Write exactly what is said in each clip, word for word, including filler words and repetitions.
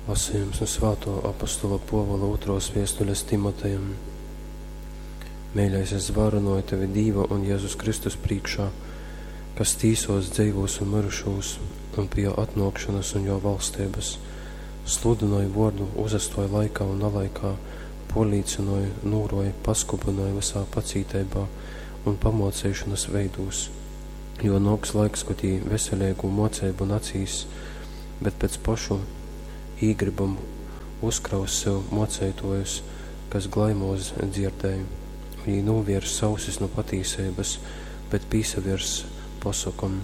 Lasījums nu svātō apostola Pōvula ūtrōs viestules Timotejam. Meiļais, es zvārynoju tevi Dīva un Jezus Kristus prīškā, kas tīsos dzeivūs un myrušūs, un pi jō atnōkšonas un jō valsteibas. Sludynoj vōrdu, uzastōj laikā un nalaikā, pōrlīcynoj, nūrōj, paskubynoj vysā pacīteibā un pamōceišonas veidūs. Jo nōks laiks, kod jī veseleigu mōceibu nacīss, bet pēc pošu īgrybom uzkraus sev mōceitōjus, kas glaimōs dzierdei. Un jī nūvierss ausis nu patīseibas, bet pīsavierss posokom.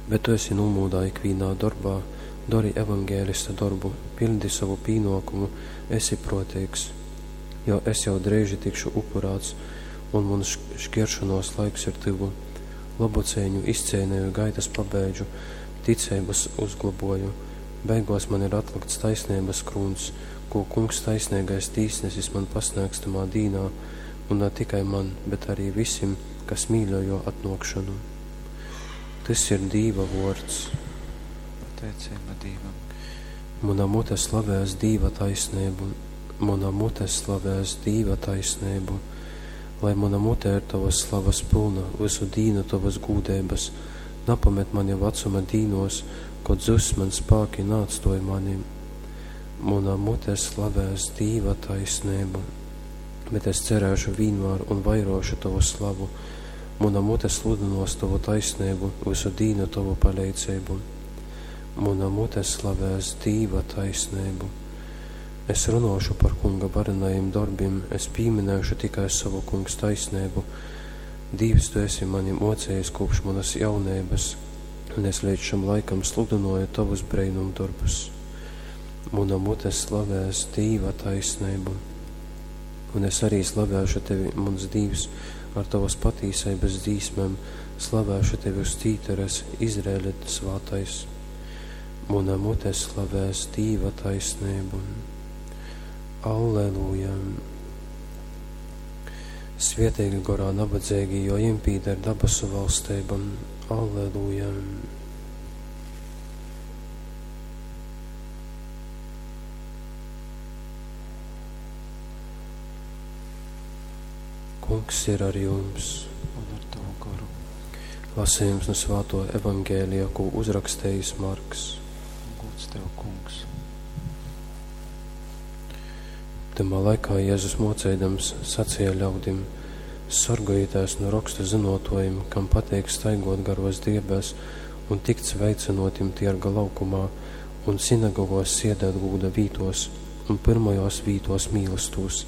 Bet tu esi nūmūdā ikvīnā dorbā, dori evangelista dorbu, piļdi sovu pīnōkumu, esi prōteigs. Jo es jau dreiži tikšu upurāts, un muns škieršonōs laiks ir tyvu. Lobu ceiņu izceineju, gaitas pabeidžu, ticeibas uzglobōju. Beigōs man ir atlykts taisneibas krūņs, kū Kungs taisneigais tīsnesis man pasnēgs tamā dīnā, un na tikai man, bet arī visim, kas mīļoj jō atnōkšonu. Tys ir Dīva vōrds. Pateiceiba Dīvam. Muna mute slavēs Dīva taisneibu, muna mute slavēs Dīva taisneibu. Lai muna mute ir tovas slavas pylna, vysu dīnu tovas gūdeibas, napamet mani vacuma dīnos, kod zuss man spāki, naatstōj mani. Muna mute slavēs Dīva taisneibu, bet es cerēšu vīnmār un vairōšu tovu slavu. Muna mute sludynōs tovu taisneibu, vysu dīnu tovu paleidzeibu. Muna mute slavēs Dīva taisneibu. Es runōšu par Kunga varenajim dorbim, es pīminēšu tikai sovu Kungs taisneibu. Dīvs, tu esi mani mocējis kopš manas jauneibas, un es līdz šam laikam sludynoju tovus breinumdorbus. Muna mute slavēs Dīva taisneibu, un es arī slavēšu tevi, muns Dīvs, ar tavas patīseibas dzīsmēm, slavēšu tevi uz cītares, Izraēļa svātais. Muna mute slavēs Dīva taisneibu. Alleluja! Svietīgi gorā nabadzīgi, jo jiem pīder dabasu valsteiba. Alleluja! Kungs ir ar jums. Un ar tavu goru. Lasījums no svāto evangēlija, ko uzrakstījis Marks. Gods tev, kungs. Tamā laikā Jēzus mocēdams sacīja ļaudim: Sorgojieties no rakstu zinotojiem, kam pateik staigot garos driebēs un tikt sveicinotim tierga laukumā un sinagogos siedēt gūda vītos un pirmajos vītos mīlestūs.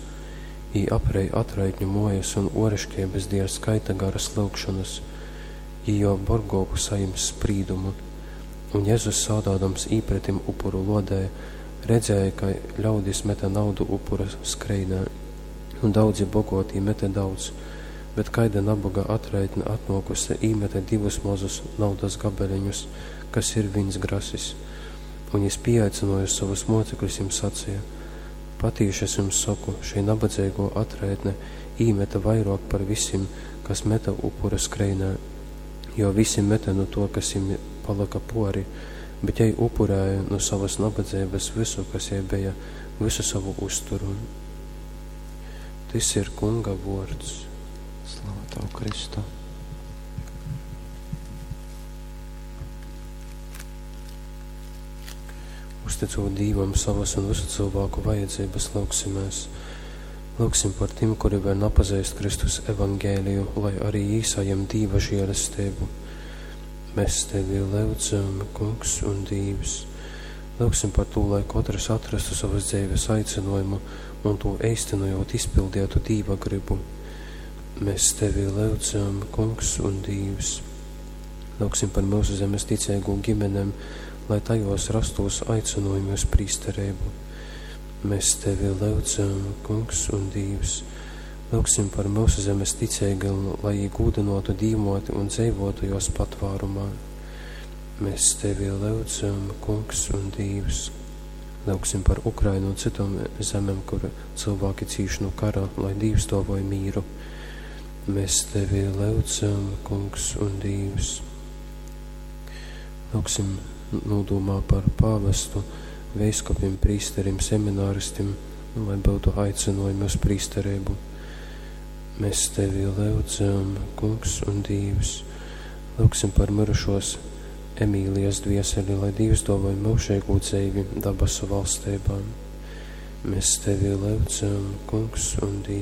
Jī aprej atraitņu mojas un oriškeibas dieļ skaita garas lyugšonas, jī jo borgōku sajims sprīdumu. Un Jēzus sādādams īpretim upuru lodē, redzēja, ka ļaudis meta naudu upura skreinē, un daudzi bogotī mete daudz, bet kaida nabaga atraitne atnōkuse īmete divus mazus naudas gabaleņus, kas ir vīns grasis. Un jis pieaicināja savus mocekļus, jiem sacīja: Patīši es jums saku, šī nabadzīgo atraitne īmeta vairāk par visiem, kas meta upura skreinē, jo visi meta no to, kas viņiem palika pori, bet jai upurēja no savas nabadzības visu, kas jai bija, visu savu uzturu. Tys ir Kunga vārds. Slava tev, Kristu. Uzticot Dīvam savas un visu cilvēku vajadzības, lūgsimies. Lūgsim par tiem, kuri vēl nepazīst Kristus evangēliju, lai arī jī saņem Dīva žēlastību. Mēs tevi lūdzam, Kungs un Dīvs. Lūgsim par to, lai katrs atrastu savas dzīves aicinājumu un to īstenojot izpildītu Dīva gribu. Mēs tevi lūdzam, Kungs un Dīvs. Lūgsim par mūsu zemes ticīgo ģimenēm, lai tajos rastos aicinājumi uz prīsterību. Mēs tevi lūdzam, Kungs un Dīvs. Lūgsim par mūsu zemes ticīgiem, lai jī gūdinotu Dīvmoti un dzīvotu jos patvārumā. Mēs tevi lūdzam, Kungs un Dīvs. Lūgsim par Ukrainu un citām zemēm, kur cilvēki cīš no kara, lai Dīvs dāvoja mīru. Mēs tevi lūdzam, Kungs un Dīvs. Lūgsim nodomā par pāvestu, veiskupim, prīsterim, semināristim, un lai byutu aicinojumi uz prīstereibu. Mēs tevi lyudzam, Kungs un Dīvs. Lūgsim par mirušos Emīlijas dvieseli, lai Dīvs dōvoj myužeigū dzeivi dabasu valsteibā. Mēs tevi lyudzam, Kungs un Dīvs.